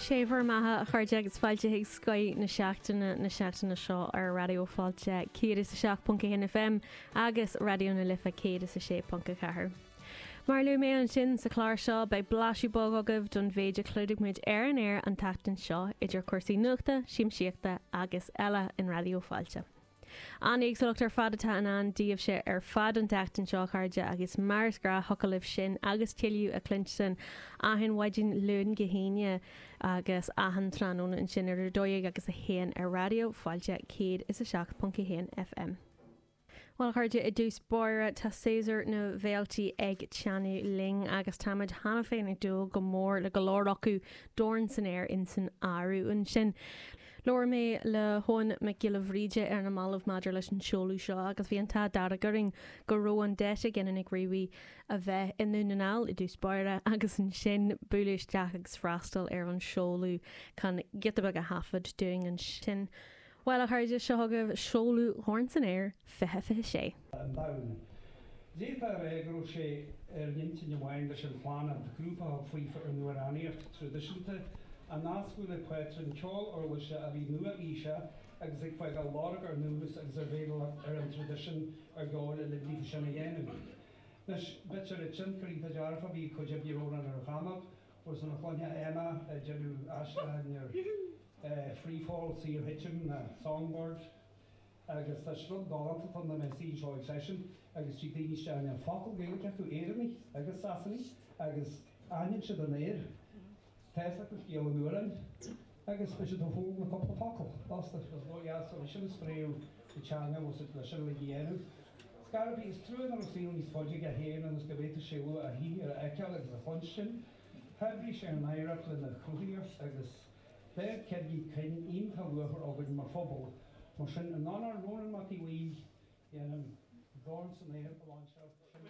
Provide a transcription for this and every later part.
Sé bhur mbeatha, a chairde, agus fáilte chuig Scoth na Seachtaine na seachtaine seo ar Raidió Fáilte 107.1 FM agus Raidió na Life 106.4. Mar a luaigh mé ansin sa chlár seo, beidh blaiseadh beag agaibh don mhéid a chlúdaigh muid ar an aer an tseachtain seo, idir chúrsaí nuachta, siamsaíochta agus eile in Raidió Fáilte. An-éagsúlacht ar fad atá in ann daoibhse ar fad an tseachtain seo, a chairde, agus mar is gnáth thiocfadh libh sin agus tuilleadh a chluinstin achan mhaidin Luan go hAoine agus achan tráthnóna ansin idir 12 agus 1 ar Raidió Fáilte 107.1 FM. Bhuel, a chairde, i dtús báire, tá séasúr na bhféiltí ag teannadh linn agus táimid cheana féin ag dúil go mór le go leor acu, Dorn san Aer insan áireamh ansin. Labhair mé le hEoin Mac Giolla Bhríde ar na mallaibh maidir leis an seoladh seo agus bhí an t-ádh dearg orainn go raibh an deis ag Nic Ruairí a bheith i nDún na nGall i dtús báire agus ansin bualadh isteach agus freastal ar an seoladh chun giota beag a thaifead dúinn ansin. Bhuel, a chairde, seo chugaibh seoladh Dhorn san Aer 2026. an domhan. D'fhéadfá a rá go raibh sé ar an intinn amháin leis an Chlannad, grúpa a thug faofa ar an amhránaíocht traidisiúnta a nascadh le pátrún ceoil uirlise a bhí nua-aoiseach agus ag fágáil lorg ar ndúchas agus ar bhéalaireacht ar an traidisiún ar dhóigh le linn daofa sin a dhéanamh. Anois, b'fhéidir tionchar iontach dearfach a bhí ag cuid oibre Rónán ar Dhamach, bhfuil san a chluiche Emma ag déanamh aistriúcháin ar Free Fall, Saorthitim, na Songbird, agus tá rud galánta ann dá mbeadh suí anseo ag seisean agus tig daoine isteach níl focal Gaeilge acu, Éireannaigh agus Sasanaigh, agus aithníonn siad an aoir, tá fhios acu scéal an amhráin agus beidh siad ag foghlaim na cúpla focal fosta. Is dóigh deas é sin a spréadh sa teanga bhfuil siad leis sin uilig a dhéanamh. Scairbí, is trua nach raibh saol níos faide aige féin ionas go bhféadfadh sé a shaothar a fheiceáil agus a chluinstin. Shaibhrigh sé an oidhreacht lena chruthaíocht agus D'fhág ceirgí cruinn iontach luachmhar againn mar phobal. Mar sin, in onóir Rónán Mac Aodha Bhuí, déanaim Dorn san Aer a lainseáil. Sin é.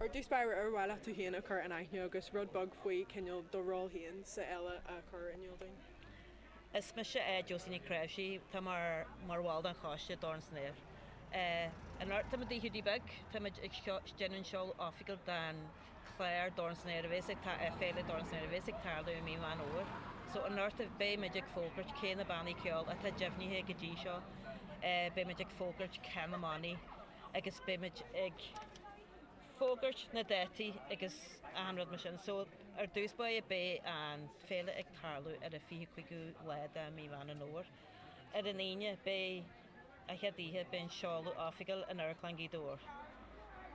Ar dtús báire, ar mhaith leat tú féin a chur in aithne agus rud beag faoi cineál do ról féin sa fhéile a chur in iúl dúinn? Is mise Josie Nic Chraoibhsigh, tá mé mar bhall den choiste Dorn san Aer. Anocht táimid i Hiúdaí Beag, táimid ag déanamh an seoladh oifigiúil den chlár Dorn san Aer a bhéas ag Féile Dorn san Aer a bhéas ag tarlú i mí Mheán Fhómhair. So anocht beimid ag fógairt cé na bannaí ceoil atá deimhnithe go dtí seo, beimid ag fógairt cé na mbannaí agus beimid ag fógairt na dátaí agus achan rud mar sin. So ar dtús báire beidh an féile ag tarlú ar an 25ú lá de mí Mheán an Fhómhair. Ar an Aoine beidh an chéad oíche beidh an seoladh oifigiúil in Amharclann Ghaoth Dobhair.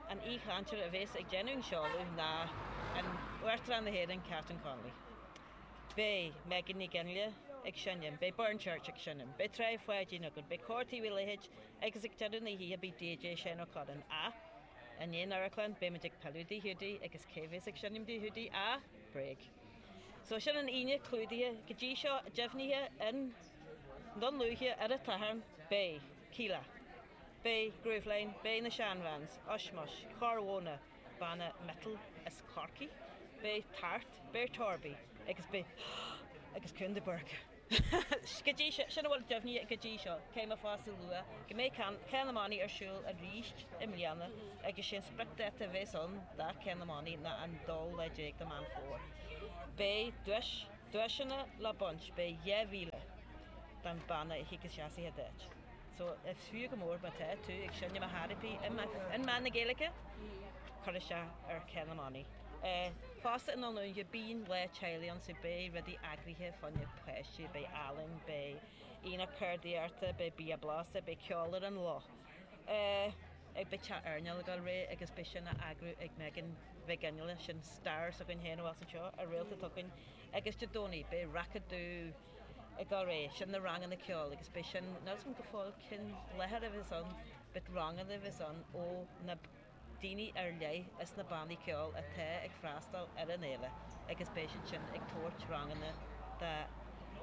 An aoichainteoir a bhéas ag déanamh an seoladh ná an Uachtarán na hÉireann Catherine Connolly. Beidh Megan Ní Fhionnghaile ag seinm, beidh Burren Church ag seinm, beidh Tráigh Pháidín againn, beidh Cór Taobh Uí Leithéid agus ag deireadh na hoíche beidh DJ Shane Ó Curráin. Ach, i ndiaidh an amharclann, beimid ag pilleadh Tigh Hiúdaí agus cé bhéas ag seinm Tigh Hiúdaí ach Bréag. So sin an Aoine clúdaithe go dtí seo, deimhnithe i nDún Lúiche ar an tSatharn, beidh Kíla, beidh Grooveline, beidh na Shan Vans, Ushmush, Corr Mhóna, banna metal as Corcaigh, beidh Tart, beidh Torby agus beidh agus Cún de Búrca. Go dtí seo, sin a bhfuil deimhnithe go dtí seo, caithfidh mé fosta a lua go mbeidh Ceann na mBannaí ar siúl arís i mbliana agus sé an spriocdháta a bheas ann do Cheann na mBannaí ná an dóú lá déag de Meán Fómhair. Beidh duais, duaiseanna le baint, beidh 2,000 don banna a thig isteach sa chéad áit. So is fiú go mór má tá tú ag seinm an chairpí i meán na Gaeilge, cuir isteach ar Cheann na mBannaí. Fosta i nDún Lúiche bíonn lá teaghlaigh ann so beidh rudaí eagraithe fá choinne páistí, beidh ealaín, beidh aonach ceardaíochta, beidh bia blasta, beidh ceol ar an loch. Ag beidh teach airneáil ag dul ar aghaidh agus beidh sin á eagrú ag Megan Mhic Fhionnghaile, sin star s'againn féin a bheas anseo, a réalta atá againn. Agus Dé Domhnaigh beidh Rac-a-Dú ag dul ar aghaidh, sin na ranganna ceoil agus beidh sin, níl 'fhios agam go fóill cén láthair a bheas ann but ranganna a bheas ann ó na daoine ar leith is na bannaí ceoil atá ag freastal ar an fhéile agus beidh siad sin ag tabhairt ranganna do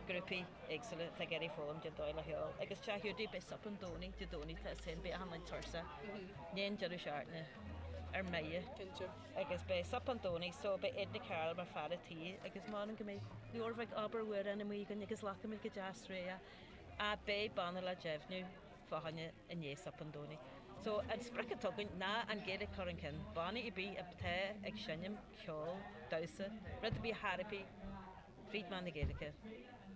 ghrúpaí éagsúla atá ag iarraidh foghlaim cén dóigh le ceol. Agus Teach Hiúdaí, beidh sop an Domhnaigh, Dé Domhnaigh tá 'fhios a'inn, beidh achan duine tuirseach i ndiaidh an deireadh seachtaine ar mire. Cinnte. Agus beidh sop an Domhnaigh so beidh Edna Carroll mar fear a' tí agus m'anam go mbeidh leabhar bheag obair amhrán amuigh againn agus glacfaimid go deas réidh. Ach beidh banna le deimhniú fá choinne i ndiaidh sop an Domhnaigh. So an sprioc atá againn ná an Ghaeilge a chur chun cinn, bannaí ar bith atá ag seinm ceol, damhsa, rud ar bith thar ar bith fríd mheán na Gaeilge,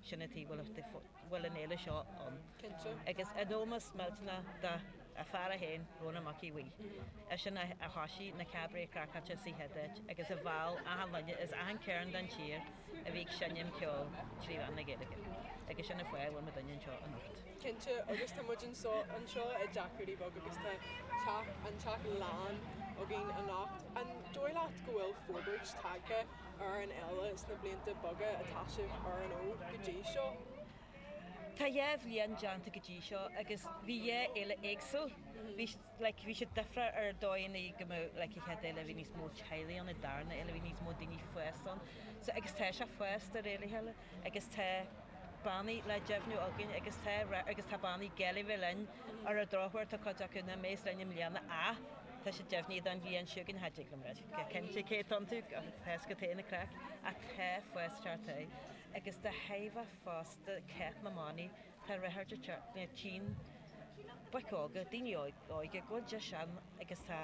sin an tuige a bhfuil an fhéile seo ann. Cinnte. Agus in ómós millteanach do a fear é féin, Rónán Mac Aodha Bhuí. Eisean a thoisigh na Cabaret Craiceáilte sa chéad áit agus a mheall achan duine as achan cearn den tír a bhí ag seinm ceoil trí mheán na Gaeilge. Agus sin an fáth a bhfuil muidinne anseo anocht. Cinnte, agus tá muid anseo anseo i dTeach Hiúdaí Beag agus tá teach, an teach lán againn anocht. An dóigh leat go bhfuil forbairt tagtha ar an fhéile sna blianta beaga atá sibh ar an fhód go dtí seo? Tá dhá bhliain déanta go dtí seo agus bhí dhá fhéile éagsúil. Bhí, like, bhí siad difriúil ar dóigheanna go mbeadh, like, an chéad fhéile bhí níos mó teaghlaigh ann, an darna fhéile bhí níos mó daoine fásta ann. So, agus tá sé fásta de réir a chéile agus tá bannaí le deimhniú againn agus tá, agus tá bannaí Gaillimhe linn ar an drochuair tá cuid acu nach mbeas linn i mbliana ach tá siad deimhnithe don bhliain seo chugainn, cha dtig liom rá cinnte cé atá iontu, tá fhios agat féin an craic ach tá fás teacht air agus de thairbhe fosta Cath na mBannaí tá ráchairt ag teacht na tchíonn boic óga, daoine óige, go bhfuil deis ann agus tá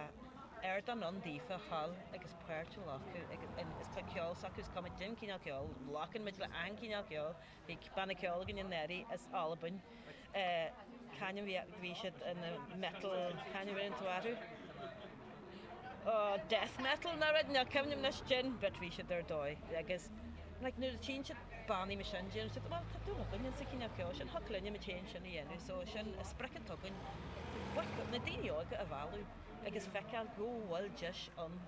ardán ann daofa a ghabháil agus páirt a ghlacadh agus tá ceol s'acu, is cuma cén cineál ceoil, glacann muid le achan cineál ceoil, bhí banna ceoil againn anuraidh as Albain, c'ainm bhí, bhí siad ina metal, c'ainm a bhí orthu? Oh, death metal nó rud, níl cuimhne agam anois cén, but bhí siad ar dóigh agus like nuair a tchíonn siad bannaí mar sin déanann siad well tá dúil againn insa cineál ceoil sin, thiocfadh linne muid féin sin a dhéanamh so sin an sprioc atá againn, boic, na daoine óga a mhealladh agus feiceáil go bhfuil deis ann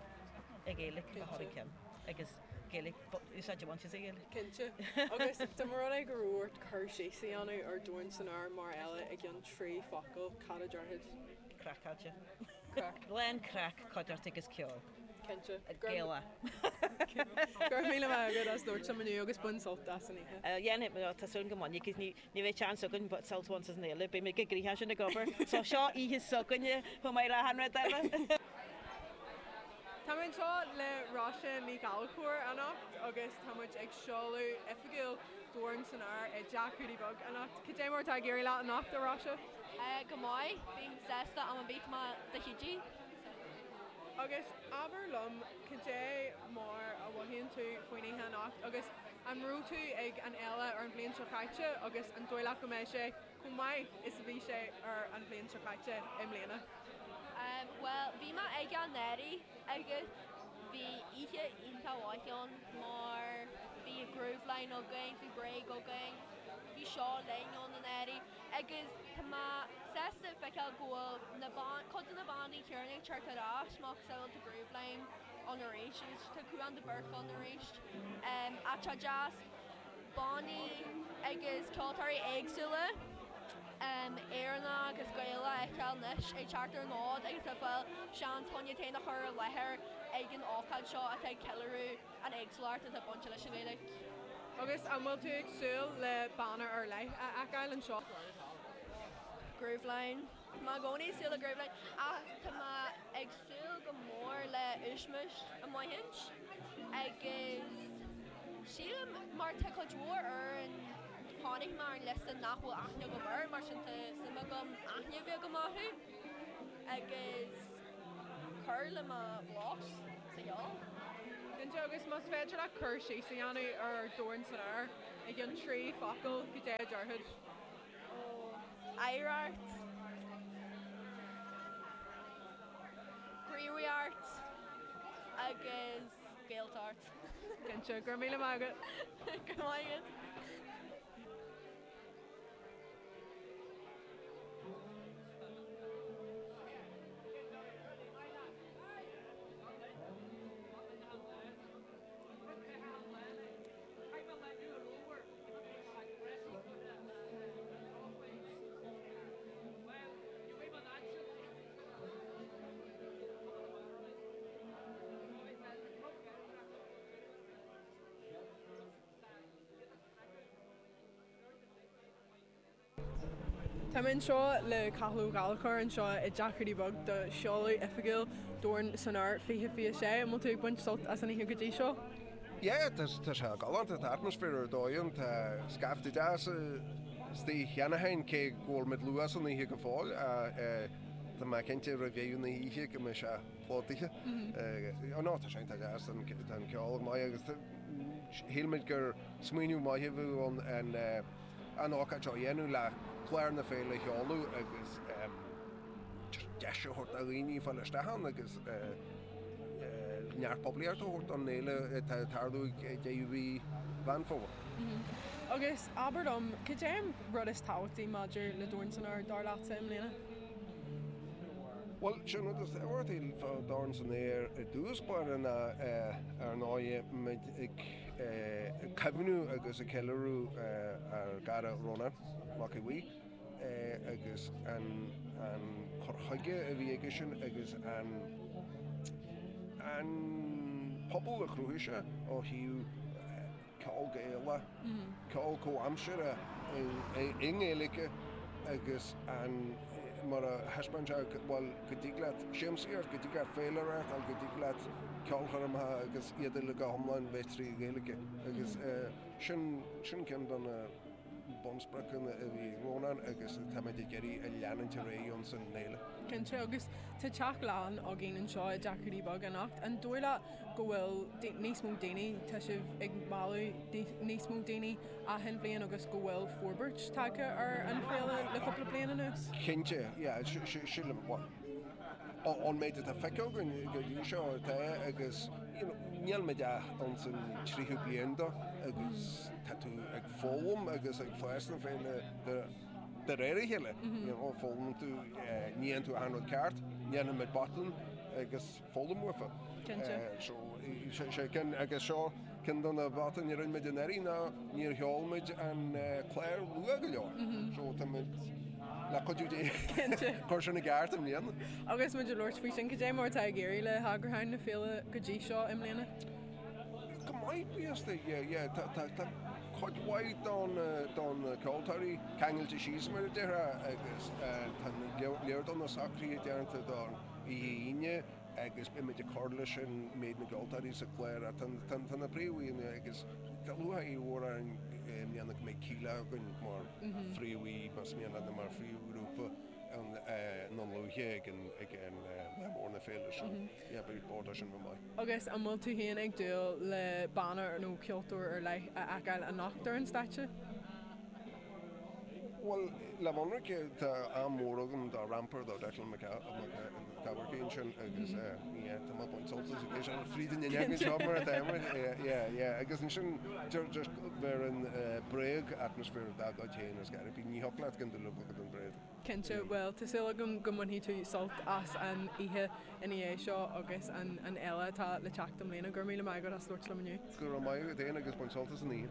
an Ghaeilge a chur chun cinn agus Gaeilge, úsáid a bhaint as an Ghaeilge. Cinnte. Agus dá mba rud é go raibh ort cur síos a dhéanamh ar Dorn san Aer mar fhéile i gceann 3 focal, cad a déarfá? Craiceáilte. Craic. Lán craic, cuideachta agus ceol. Cinnte. Gaelach. Go raibh míle maith agat as labhairt liom inniu agus bain sult as an oíche. Dhéanfaidh, tá súil go mbainfidh, cos ní bheidh seans againn sult a bhaint as an fhéile, beidh muid go gnoitheach sin ag obair. So seo oíche s'againne chomh maith le achan rud eile. Tá mé anseo le Róise Ní Ghallchóir anocht agus tá muid ag seoladh oifigiúil Dorn san Aer i dTeach Hiúdaí Beag anocht. Cad é mar atá ag éirí leat anocht, a Róise? Go maith, bím sásta am ar bith tá mé do Hiúdaí. Agus abair liom cad é mar a mhothaíonn tú faoin oíche anocht agus an raibh tú ag an fhéile ar an bhliain seo caite agus an dóigh leat go mbeidh sé chomh maith is a bhí sé ar an bhliain seo caite i mbliana? Bhuel, bhí mé ag anuraidh agus bhí oíche iontach mhaith ann mar bhí Grooveline againn, bhí Bréag againn, bhí Seo Linn ann anuraidh agus tá mé sásta feiceáil go bhfuil na ban, cuid de na bannaí céanna ag teacht ar ais, macasamhail tá Grooveline ann arís agus tá Cúán de Búrc ann arís. Ach tá deas. bannaí agus ceoltóirí éagsúla, Éireannach agus Gaelach a fheiceáil anois ag teacht ar an fhód agus ag fáil seans chun iad féin a chur i láthair ag an ócáid seo atá ag ceiliúradh an éagsúlacht atá bainte leis an Ghaeilge. Agus an bhfuil tú ag súil le banna ar leith a fheiceáil anseo? Grooveline. Tá mé i gcónaí ag súil le Grooveline ach tá mé ag súil go mór le Ushmush amuigh agus sílim mar tá cuid mhór amhrán chonaic mé ar an liosta nach bhfuil aithne agam air mar sin tá suim agam aithne a bheith agam orthu agus cur le mo bhlas sa cheol. Cinnte, agus más féidir leat cur síos a dhéanamh ar Dorn san Aer i gceann 3 focal, cad é a déarfá? Oidhreacht, gníomhaíocht agus Gaeltacht. Cinnte, go raibh míle maith agat. Go raibh maith agat. Tá mé anseo le Cathal Ó Gallchóir anseo i dTeach Hiúdaí Beag do sheoladh oifigiúil Dorn san Aer 2026. An bhfuil tú ag baint sult as an oíche go dtí seo? Yeah, tá sé galánta, tá atmaisféar ar dóigh ann, tá scaifte deas Istigh cheana féin, cé go bhfuil muid luath san oíche go fóill, tá mé cinnte roimh dheireadh na hoíche go mbeidh sé plódaithe. Nó tá sé iontach deas, tá an ceol go maith agus shíl muid gur smaoineamh maith a bheadh ann an ócáid seo a dhéanamh le clár na féile a sheoladh agus deis a thabhairt do dhaoine fáil isteach ann agus neart poiblíochta a thabhairt don fhéile atá ag tarlú ag deireadh mhí Mheán Fómhair. Agus abair liom, cad é an rud is tábhachtaí maidir le Dorn san Aer, dar leatsa, i mbliana? Bhuel, sé an rud is tábhachtaí fá Dorn san Aer i dtús báire ná, ar ndóigh, muid ag cuimhniú agus ag ceiliúradh ár gcara Rónán Mac Aodha Bhuí. agus an cur chuige a bhí aigesean agus an an pobal a chruthaigh sé ó thaobh ceol Gaelach, ceol comhaimseartha i nGaeilge agus an mar a thaispeáin sé bhuel go dtig leat siamsaíocht, go dtig leat féile a reáchtáil, go dtig leat ceolchoirmeacha agus iad uilig go hiomlán bheith trí Ghaeilge agus sin sin ceann de na bunspriocanna a bhí ag Rónán agus táimid ag iarraidh a leanúint ar aghaidh ins an fhéile. Cinnte, agus tá teach lán againn anseo i dTeach Hiúdaí Beag anocht. An dóigh leat go bhfuil níos mó daoine, tá sibh ag mealladh níos mó daoine achan bhliain agus go bhfuil forbairt tagtha ar an féile le cúpla bliain anuas? Cinnte, yeah, sílim, bhuel, ón méid atá feicthe againn go dtí seo, tá agus you know níl muid ach ins an tríú bliain dó agus tá tú ag foghlaim agus ag fás na féile de réir a chéile. You know, foghlaimíonn tú, ní dhéanann tú achan rud ceart, déanann muid botúin agus foghlaim uafa. Cinnte. So, sé ceann, agus seo ceann de na botúin a rinne muid anuraidh ná níor sheol muid an clár luath go leor. So tá muid le cuidiú Dé Cinnte. cur sin i gceart i mbliana. Agus muid ag labhairt faoi sin, cad é mar atá ag éirí le heagrúchán na féile go dtí seo i mbliana? Go maith, bíosta, yeah, yeah. Tá, tá, tá cuid mhaith don, don ceoltóirí ceangailte síos mar a déarfá agus tá lear de na socruithe déanta don oíche Aoine agus beimid ag cur leis an méid na gceoltóirí sa chlár ach tá, tá na príomhaíonna agus tá lúcháir mhór orainn i mbliana go mbeidh Kíla againn mar phríomhaí, más mian leat, nó mar phríomhghrúpa na luaithe ag an, ag an lá mór na féile so yeah beidh bord sin go maith. Agus an bhfuil tú féin ag dúil le banna nó ceoltóir ar leith a fheiceáil anocht ar an stáitse? Bhuel, le bheith ionraic, tá am mór agam do Ramper, do Declan McCafferty ansin agus yeah, tá mé ag baint sult as ag éisteacht fríd an fhuinneog anseo mar atá muid, yeah, yeah, agus ansin just bheir an Bréag atmaisféar dá gcuid féin is go ní thiocfadh leat gan dul a bhogad an Bréag. Cinnte, bhuel, tá súil agam go mbainfidh tú sult as an oíche ina dhiaidh seo agus an fhéile atá le teacht i mbliana. Go raibh míle maith agat as labhairt liom inniu. Go raibh maith agat féin agus bain sult as an oíche.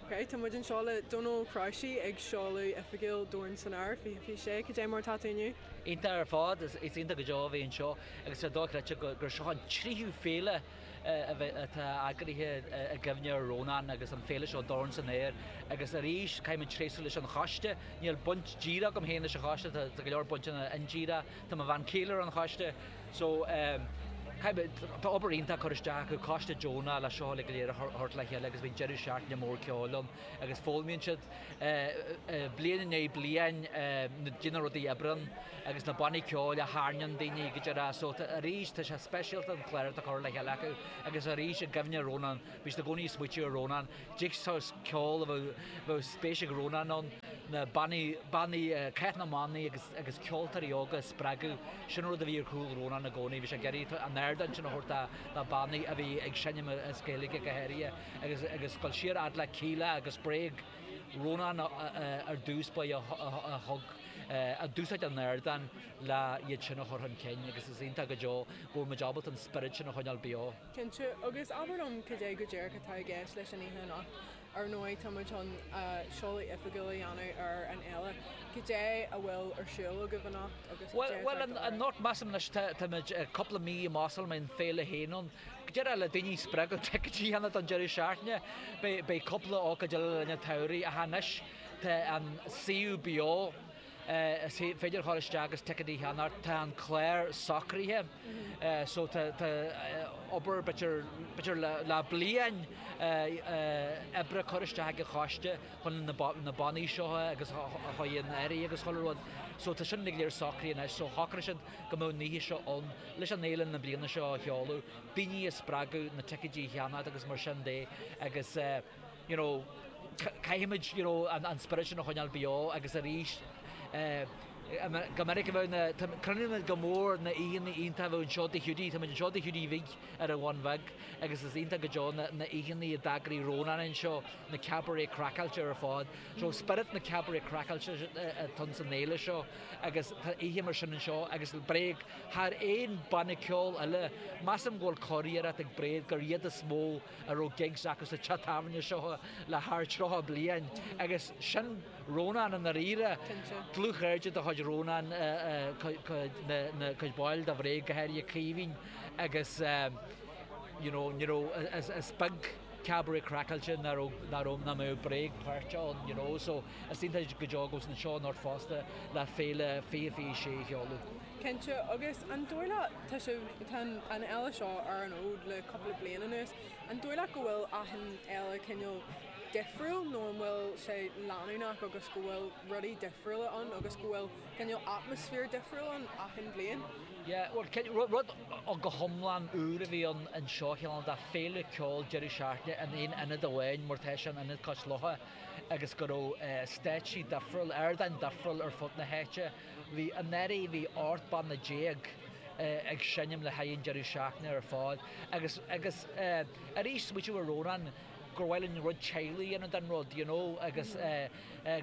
Ok, tá muid anseo le Dónal Ó Cnáimhsí ag seoladh oifigiúil Dorn san Aer 2026. Cad é mar atá tú inniu? Iontach ar fad, is iontach go deo a bheith anseo agus tá dochreidte gur seo an tríú féile atá eagraithe i gcuimhne ar Rónán agus an féile seo Dorn san Aer agus arís caithfidh muid tréaslú leis an choiste, níl baint díreach agam féin leis an choiste, tá go leor bainteanna indíreach, tá mo bhean chéile ar an choiste so caithfidh muid, tá obair iontach curtha isteach acu, coiste deonach le seo uilig go léir a thabhairt le chéile agus bíonn deireadh seachtaine mór ceoil ann agus foghlaimíonn siad bliain i ndiaidh bliain na na rudaí a oibríonn agus na bannaí ceoil a tharraingíonn daoine go deireadh so arís tá sé speisialta an clár atá curtha le chéile acu agus arís i gcuimhne ar Rónán, bhí siad i gcónaí ag smaoitiú ar Rónán, dtig saghas ceol a bheadh bheadh spéis ag Rónán ann, na bannaí bannaí cath na mbannaí agus agus ceoltóirí óga a spreagadh, sin an rud a bhí ar chúl Rónán i gcónaí, bhí sé ag iarraidh an ardán sin a thabhairt do do bannaí a bhí ag seinm as Gaeilge go háirithe agus agus dul siar fhad le Kíla agus Bréag. Rónán ar dtús ba é a thug, a d'úsáid an ardán le iad sin a chur chun cinn agus is iontach go deo go bhfuil muid ábalta an spiorad sin a choinneáil beo. Cinnte, agus abair liom cad é go díreach atá i gceist leis an oíche anocht. Ar ndóigh, tá muid chun seoladh oifigiúil a dhéanamh ar an fhéile. Cad é a bhfuil ar siúl agaibh anocht agus cad é atá Bhuel, ag dul ar aghaidh? anocht, measaim anois, táimid cúpla mí amach sula mbeidh an féile féin ann. Go díreach le daoine a spreagadh ticéidí a cheannach don deireadh seachtaine. Beidh cúpla ócáid eile le linn an tsamhraidh ach anois tá an suíomh beo. Is féidir a ghabháil isteach agus ticéadaí a cheannacht. Tá an clár socraithe so tá obair b'fhéidir le bliain oibre curtha isteach ag an choiste chun na bannaí seo agus a chur in áirithe agus chuile rud. So tá sin uilig go léir socraithe anois so shocraigh siad go mbeadh an oíche seo ann leis an fhéile na bliana seo a sheoladh, daoine a spreagadh na ticéidí a cheannacht agus mar sin de agus you know caithfimid you know an spiorad sin a choinneáil beo agus arís go minic a bheadh na, cuimhnímid go mór na oícheanna iontacha a bheadh anseo Tigh Hiúdaí, táimid anseo Tigh Hiúdaí Bhig ar an Bhun Bheag agus is iontach go deo na oícheanna a d'eagraigh Rónán anseo, na cabaret craiceáilte ar fad. So spiorad na cabaret craiceáilte atá san fhéile seo agus tá oíche mar sin anseo agus Bréag thar aon banna ceoil eile, measaim go bhfuil curiarracht ag Bréag gur iad is mó a raibh gigs acu sa teach tábhairne seo le thar 30 bliain agus sin Rónán i ndáiríre. Dlúthchairde de chuid Rónán na cuid baill de Bhréag, go háirithe Caoimhín agus you know ní raibh, is beag cabaret craiceáilte nach raibh, nach raibh, nach mbeadh Bréag páirteach ann you know so is iontach go deo go bhfuil siad anseo anocht fosta le Féile 2026 a sheoladh. Cinnte, agus an dóigh leat, tá sibh, tá an fhéile seo ar an fhód le cúpla bliain anuas, an dóigh leat go bhfuil achan fhéile cineál difriúil nó an bhfuil sé leanúnach agus go bhfuil rudaí difriúla ann agus go bhfuil cineál atmaisféar difriúil ann achan bhliain? Yeah, bhuel, rud go hiomlán úr a bhí ann anseo, cineál de féile ceoil deireadh seachtaine in aon ionad amháin mar tá sé in Ionad Cois Locha agus go raibh stáitsí difriúil, ardáin difriúil ar fud na háite. Bhí, anuraidh, bhí 18 banna ag seinm le haghaidh an deireadh seachtaine ar fad agus, agus arís, smaoitiú ar Rónán, gur mhaith linn rud teaghlaigh a dhéanamh den rud, you know, agus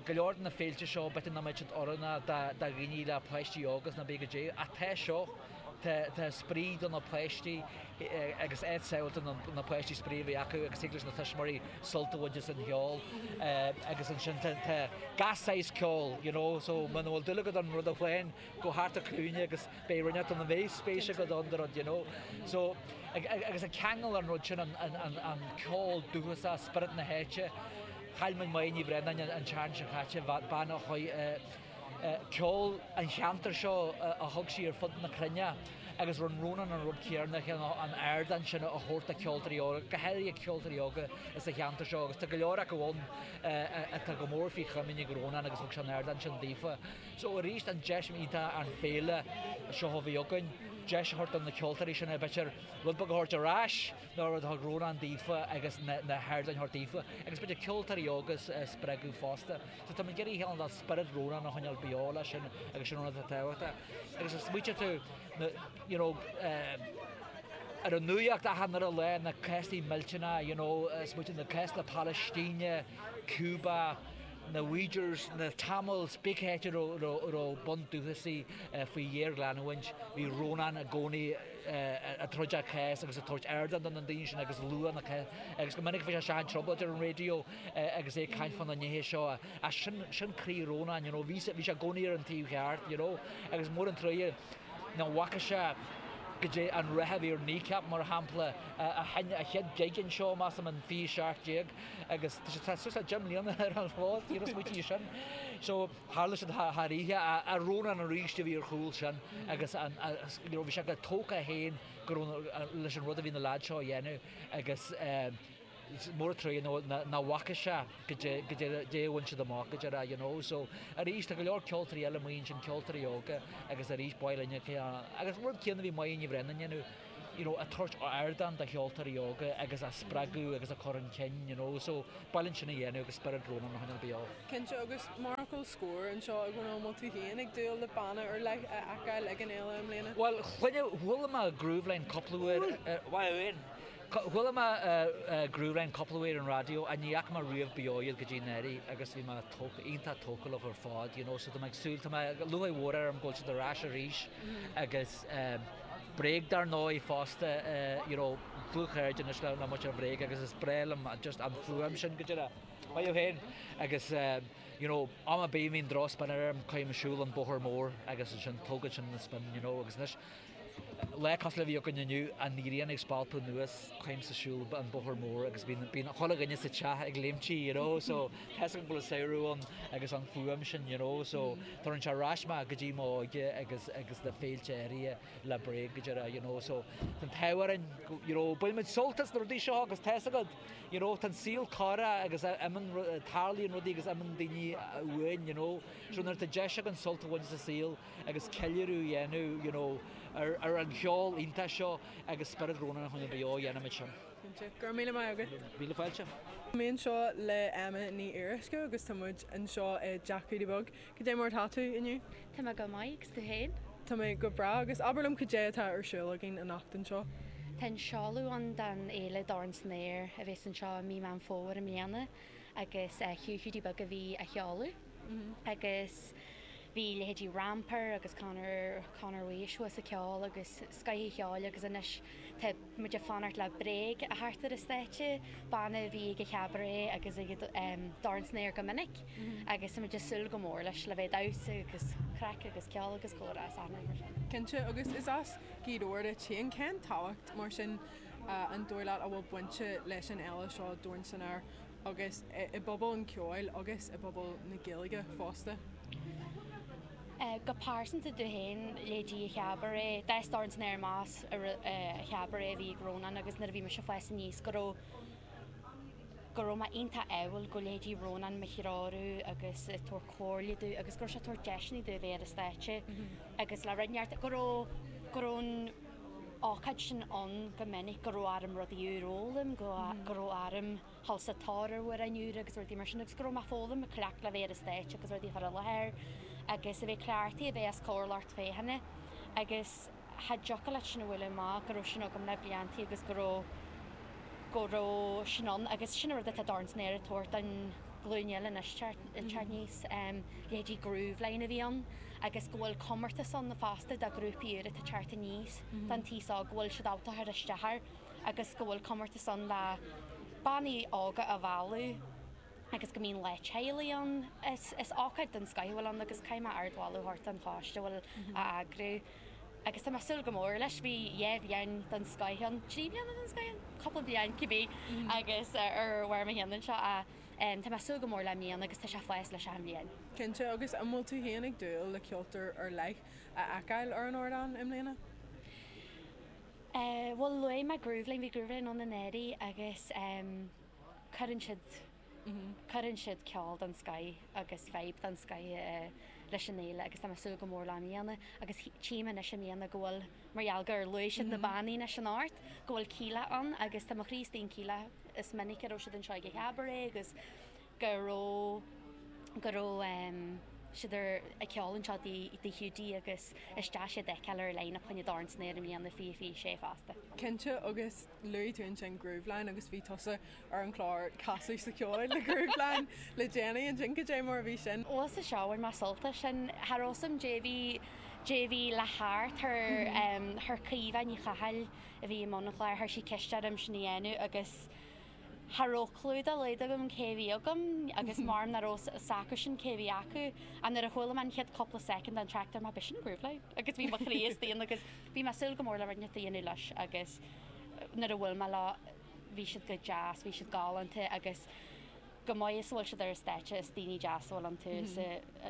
go leor de na féilte seo, b'fhéidir nach mbeadh siad oiriúnach do dhaoine le páistí óga is ná bí goidé, ach tá seo, tá spraoi do na páistí agus áit sábháilte do na páistí spraoi a bheith acu agus thig leis na tuismitheoirí sult a bhaint as an cheol agus ansin tá gach saghas ceoil, you know, so muna bhfuil dúil agat ann rud amháin, gabh thart an cúinne agus beidh rud inteacht a mbeidh spéis agat ann do rud, you know. So, agus ag ceangal an rud sin, an ceol dúchasach, spiorad na háite, chaill muid Máire Ní Bhraonáin an tseachtain seo caite, bean a chuaigh, ceol an cheantair seo a thug sí ar fud na cruinne agus rinne Rónán an rud céanna, an ardán sin a thabhairt do cheoltóirí óga, go háirithe ceoltóirí óga sa cheantar seo agus tá go leor acu ann atá go mór faoi chomaoin ag Rónán agus thug sé an ardán sin daofa. So arís an deis iontach an féile seo a bhí againn, deis a thabhairt do na ceoltóirí sin b'fhéidir rud beag a thabhairt ar ais ná rud a thug Rónán daofa agus na hardáin a thabhairt daofa agus b'fhéidir ceoltóirí óga a spreagadh fosta. So tá muid ag iarraidh cineál spiorad Rónán a choinneáil beo leis sin agus sin rud atá tábhachtach. Agus a smaoitíonn tú na you know ar an nuacht achan uile lá na cásanna millteanacha you know smaoitíonn na cás na Palaistíne, Cuba, na Uyghurs, na Tamils, pé áit a raibh bundúchasaigh faoi ghéarleanúint, bhí Rónán i gcónaí ag troid a chás agus ag tabhairt ardán do na daoine sin agus lua na agus go minic bhí sé isteach i dtrioblóid ar an raidió agus é ag caint fá na nithe seo. Ach sin, sin croí Rónáin, you know, bhí sé i gcónaí ar an taobh cheart, you know, agus mór an truaighe nach bhfaca sé goidé an rath a bhí ar Kneecap, mar shampla, a sheinn a chéad gig anseo, measaim, in 2017. Agus tá sé suas le 10 mbliana ar an bhfód, you know, smaoitigh sin. So, tharla siad thar oíche, ach Rónán arís a bhí ar chúl sin agus an, you know, bhí sé go tógtha féin go raibh, leis an rud a bhí na leaids seo a dhéanamh agus mór an truaighe nach bhfaca sé goidé, goidé a bhain siad amach go deireadh, you know. So, arís, tá go leor ceoltóirí eile amuigh ansin, ceoltóirí óga agus arís, ba mhaith linne, agus rud céanna a bhí Máire Ní Bhraonáin a dhéanamh, you know, ag tabhairt ardán do cheoltóirí óga agus á spreagadh agus á cur chun cinn, you know, so ba mhaith linn sin a dhéanamh agus spiorad Rónán a choinneáil beo. Cinnte, agus mar fhocal scoir anseo a Dhónaill, an bhfuil tú féin ag dúil le banna ar leith a fheiceáil ag an fhéile i mbliana? Bhuel, chuala mé Grooveline cúpla uair, bhuel, chuala mé Grooveline cúpla uair ar an raidió ach ní fhaca mé riamh beo iad go dtí anuraidh agus bhí mé tógtha, iontach tógtha leo ar fad, you know, so tá mé ag súil, tá mé, lúcháir mhór orm go bhfuil siad ar ais arís agus eh, Bréag dar ndóigh fosta, you know, dlúthchairde anois le muintir Bhréag agus is breá liom just an fuaim sin go deireadh. Maith thú féin! Agus you know, am ar bith a mbíonn drochspion orm, cuirim ar siúl an bóthar mór agus ansin tógann sin an spion, you know, agus anois. Lá cosúil le bhí againn inniu, an ghrian ag spalpadh anuas chugamsa siúl an bóthar mór agus bíonn bíonn chuile dhuine sa teach ag léimtí you know so tá 'fhios agam go bhfuil an samhradh ann agus an fuaim sin you know so tugann sé ar ais mé go dtí m'óige agus agus na féilte áirithe le Bréag go deireadh you know so tá an t-ádh orainn you know baineann muid sult as na rudaí seo agus tá 'fhios agat you know tá an saol corrach agus imíonn tarlaíonn rudaí agus imíonn daoine uainn you know so nuair atá deis againn sult a bhaint as an saol agus ceiliúradh a dhéanamh you know ar ar an cheol iontach seo agus spiorad Rónáin a choinneáil beo, dhéanfaimid sin. Cinnte. Go raibh míle maith agat. Míle fáilte. Tá mé anseo le Emma Ní Fhíoruisce agus tá muid anseo i dTeach Hiúdaí Beag. Cad é mar atá tú inniu? Tá mé go maith, agus tú féin? Tá mé go breá, agus abair liom cad é atá ar siúl againn anocht anseo? Tá an seoladh ann don fhéile Dorn san Aer a bheas anseo i mí Meán Fómhair i mbliana agus Hugh Hiúdaí Beag a bhí á sheoladh agus Bhí leithéidí Rampar agus Conor, Conor Wace thuas ag ceol agus scoth an cheoil agus anois tá muid ag fanacht le Bréag a theacht ar an stáitse, banna a bhí ag an Chabaret agus ag Dorn san Aer go minic agus tá muid ag súil go mór leis, le bheith ag damhsa agus craic agus ceol agus comhrá is achan rud mar sin. Cinnte, agus is as Gaoth Dobhair duit féin, cén tábhacht mar sin an dóigh leat a bhfuil bainte leis an fhéile seo Dorn san Aer agus i bpobal an cheoil agus i bpobal na Gaeilge fosta. Go pearsanta domh féin, leithéidí an Chabaret, d'fhás Dorn san Aer amach as an Chabaret a bhí ag Rónán agus nuair a bhí mise ag fás aníos go raibh go raibh mé iontach ádhúil go leithéidí Rónán mo threorú agus ag tabhairt comhairle domh agus go raibh sé ag tabhairt deiseanna domh a bheith ar an stáitse agus le rud neart go raibh go raibh an ócáid sin ann go minic go raibh orm rudaí úr a fhoghlaim, go raibh orm dhul sa tóir ar amhráin úra agus rudaí mar sin agus go raibh mé ag foghlaim, ag cleachtadh le bheith ar an stáitse agus rudaí a chur i láthair agus a bheith cleachtaithe a bheith os comhair lucht féachana agus cha dtiocfadh leat sin a bhualadh amach, go raibh sin agam le bliantaí agus go raibh, go raibh sin ann agus sin an rud atá Dorn san Aer ag tabhairt don ghlúin eile anois teacht aníos, leithéidí Grooveline a bhí ann agus go bhfuil comórtas ann fosta do ghrúpaí úra atá ag teacht aníos don taos óg, go bhfuil siad ábalta cur isteach air agus go bhfuil comórtas ann le bannaí óga a mhealladh agus go mbíonn lá teaghlaigh ann. Is ócáid den scoth a bhfuil ann agus caithfidh mé ardmholadh a thabhairt don choiste a bhfuil á eagrú agus tá mé ag súil go mór leis. Bhí dhá bhliain den scoth ann, trí bliana den scoth ann? Cúpla bliain cibé agus ar bharr mo cheann anseo ach tá mé ag súil go mór le i mbliana agus tá sé ag fás leis achan bhliain. Cinnte, agus an bhfuil tú féin ag dúil le ceoltóir ar leith a fheiceáil ar an ardán i mbliana? Bhuel, luaigh mé Grooveline, bhí Grooveline ann anuraidh agus cuireann siad, cuireann siad ceol den scoth agus vibe den scoth leis an fhéile agus tá mé ag súil go mór leo i mbliana agus tchím anois i mbliana go bhfuil, mar gheall gur luaigh siad na bannaí anois anocht, go bhfuil Kíla ann agus tá mo chroí istigh in Kíla, is minic a raibh siad anseo ag an Chabaret agus. go raibh go raibh siad ar ag ceol anseo i dTigh Hiúdaí agus is deas iad a fheiceáil ar line up choinne Dorn san Aer i mbliana 2026 fosta. Cinnte agus luaigh tú ansin Grooveline agus bhí tusa ar an chlár Casadh sa Cheol le Grooveline le déanaí ansin, cad é mar a bhí sin? Bhuel sa seo bhain mé sult as sin. Cha raibh 's a'm dé bhí dé bhí le theacht thar thar Caoimhe Ní Chathail a bhí i mbun an chláir, chuir sí ceist orm sin a dhéanamh agus Cha raibh clue dá laghad agam cé a bhí agam agus maram nach raibh 's acusan cé a bhí acu. Ach nuair a chuala mé an chéad cúpla soicind den traic dúirt mé b'shin Grooveline agus bhí mo chroí istigh ann agus bhí mé ag súil go mór le rud inteacht a dhéanamh leis agus nuair a bhuail mé leo bhí siad go deas, bhí siad galánta agus chomh maith is a bhfuil siad ar an stáitse is daoine deasa a bhfuil iontu is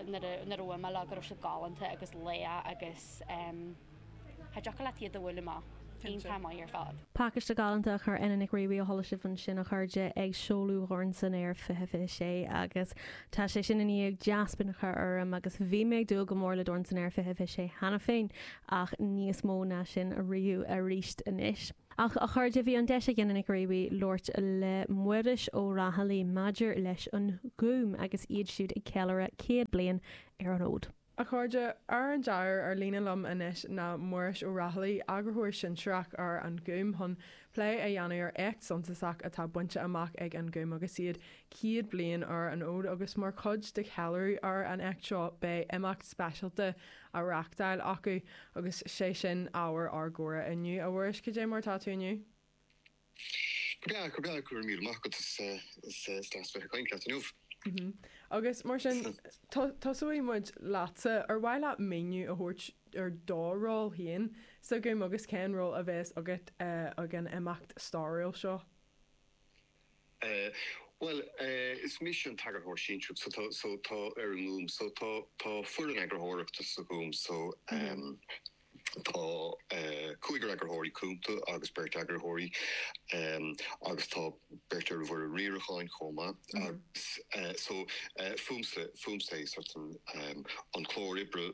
nuair a nuair a bhuail mé leo go raibh siad galánta agus lách agus cha dtiocfadh leat iad a bhualadh amach. Iontach maith ar fad. Pacáiste galánta a chuir Ena Nic Riabhaigh a chuala sibh ansin a chairde ag seoladh Dhorn san Aer 2026 agus tá sé sin i ndiaidh dea-spion a chur orm agus bhí mé ag dúil go mór le Dorn san Aer 2026 cheana féin ach níos mó ná sin ariamh arís anois. Ach a chairde bhí an deis ag Ena Nic Riabhaigh labhairt le Muiris Ó Raghallaigh maidir leis an Ghúm agus iad siúd ag ceiliúradh 100 bliain ar an fhód. A chairde, ar an deireadh ar líne liom anois ná Muiris Ó Raghallaigh, Eagarthóir Sinsearach ar An Gúm chun plé a dhéanamh ar éacht suntasach atá bainte amach ag An Gúm agus iad 100 bliain ar an fhód agus mar chuid de cheiliúradh ar an éacht seo beidh imeacht speisialta á reáchtáil acu agus sé sin ábhar ár gcomhrá inniu. A Mhuiris, cad é mar atá tú inniu? Go breá, go breá, go raibh míle maith agat, is deas bheith ag caint leat inniu. Agus mar sin, tosóidh muid leatsa. Ar mhaith leat míniú a thabhairt ar do ról féin sa Ghúm agus cén ról a bheas agat ag an imeacht stairiúil seo? Bhuel, is mise an t-eagarthóir sinsearach so tá, so tá ar an nGúm. So tá, tá foireann eagarthóireachta sa Ghúm so tá cúigear eagarthóirí cúnta agus beirt eagarthóirí agus tá beirt ar an bhfoireann riaracháin chomh maith agus so fúmsa, fúmsa é sort an, an clár oibre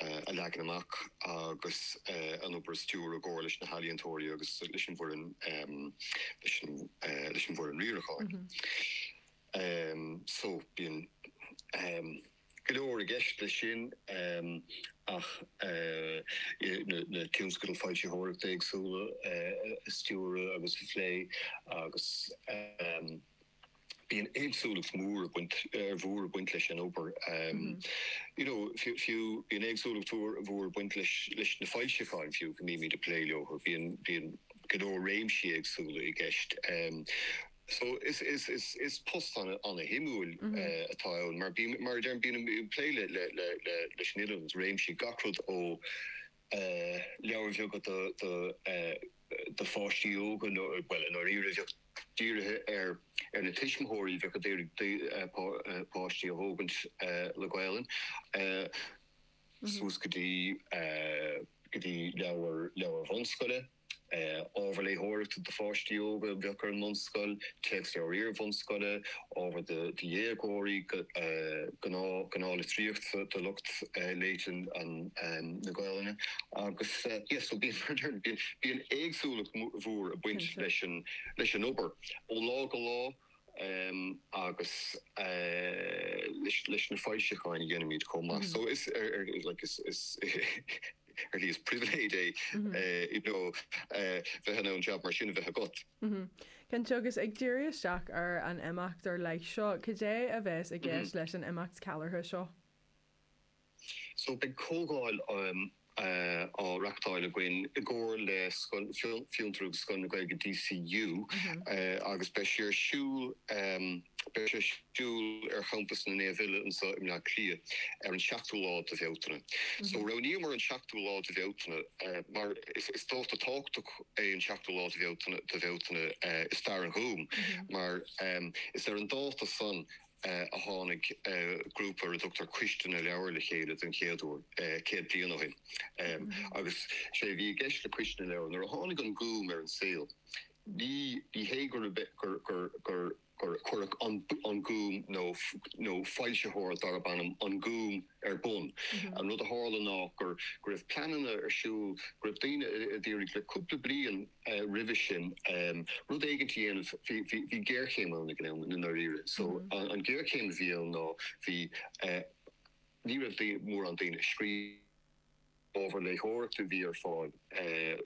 a leagan amach agus an obair a stiúradh i gcomhar leis na healaíontóirí agus leis an bhfoireann, leis an, leis an bhfoireann riaracháin. So bíonn go leor i gceist leis sin ach na tionscadail foilsitheoireachta éagsúla a stiúradh agus a phlé agus bíonn éagsúlacht mhór ag baint, mhór ag baint leis an obair. You know, fiú, bíonn éagsúlacht mhór ag baint leis, leis na foilseacháin fiú go mbímid ag plé leo. Bíonn, bíonn go leor réimsí éagsúla i gceist. So is, is, is, is post ana, ana-shuimiúil atá ann mar bím, mar a deirim, bím ag plé le, le, le, le, leis an iliomad réimsí, gach rud ó leabhair bheaga do, do, do pháistí óga nó, bhuel, i ndáiríre, bheadh dírithe ar ar na tuismitheoirí a bheadh ag iarraidh páistí a thógaint le Gaelainn, suas go dtí go dtí leabhair leabhair bhunscoile, ábhar léitheoireachta do pháistí óga a bheadh ar an mbunscoil, téacsleabhair iar-bhunscoile, ábhar do dhéagóirí, gnáth gnáth-litríocht do lucht léite na Gaelainne agus yeah so bíonn bíonn éagsúlacht mhór ag baint leis an leis an obair ó lá go lá agus leis na foilseacháin a dhéanaimid chomh maith. So is ar like is is ar shlí is pribhléid é you know bheith in ann jab mar sin a bheith agat. Cinnte, agus ag díriú isteach ar an imeacht ar leith seo, cad é a bheas i gceist leis an imeacht ceiliúrtha seo? So beidh comhdháil á reachtáil againn i gcomhar le Scoil Fiontar agus Scoil na Gaeilge DCU agus beidh sé ar siúl beidh sé ar siúl ar champas na Naomh Uile anseo i mBleá Cliath ar an seachtú lá de Bhealtaine. So roghnaíomar an seachtú lá de Bhealtaine mar is dáta tábhachtach é an seachtú lá de Bhealtaine de Bhealtaine i stair an Ghúim mar is ar an dáta san a tháinig grúpa ar a dtugtar Coiste na Leabhar le chéile den chéad uair, 100 bliain ó shin. Agus sé a bhí i gceist le Coiste na Leabhar, nuair a tháinig an Gúm ar an saol, ní hé gur gur gur gur cuireadh an Gúm nó nó foilsitheoir darb ainm An Gúm ar bun. An rud a tharla ná gur go raibh pleananna ar siúl, go raibh daoine a d'iarraidh le cúpla bliain roimhe sin rud éigint a dhéanamh, bhí bhí géarchéim ann ag an am i ndáiríre. So an ghéarchéim a bhí ann ná bhí ní raibh mórán daoine ag scríobh ábhar léitheoireachta a bhí ar fáil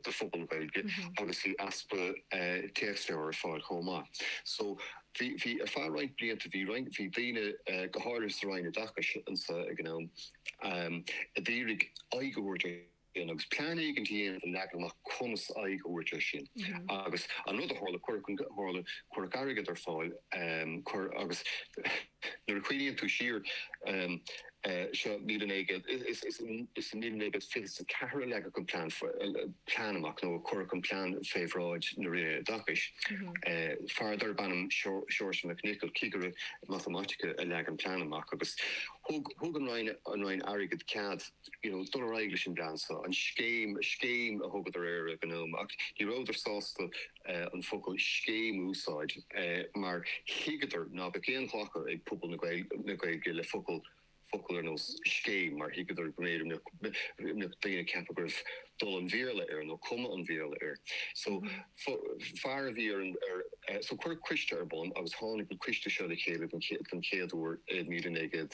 do phobal na Gaeilge agus bhí easpa téacsleabhar ar fáil chomh maith. So bhí, bhí, ar feadh roinnt blianta bhí roinnt, bhí daoine, go háirithe sa Roinn Oideachais anseo ag an am, a d'iarraidh aghaidh a thabhairt air sin agus plean éigint a dhéanamh a leagan amach conas aghaidh a thabhairt air sin. Agus an rud a tharla, cuireadh an, tharla, cuireadh airgead ar fáil, cuir, agus nuair a chuimhníonn tú siar, seo 1900, is i 1924 a leagadh an plean plean amach, nó a cuireadh an plean fé bhráid na Roinne Oideachais. Fear darb ainm Seoirse Mac Niocaill, cigire matamaitice, a leag an plean amach agus thug thug an Roinn an Roinn Airgid cead you know dul ar aghaidh leis an bplean seo, an scéim, scéim a thugadar air ag an am ach ní rabhadar sásta an focal scéim a úsáid mar thuigeadar ná beadh aon ghlacadh ag pobal na Gaeilge le focal focal ar nós scéim mar thuigeadar go mb'fhéidir go mbeadh daoine ag ceapadh go raibh dul an Bhéarla air nó cuma an Bhéarla air. So fear a bhí ar an ar so cuireadh coiste ar bun agus tháinig an coiste seo le chéile den chéad uair i 1900.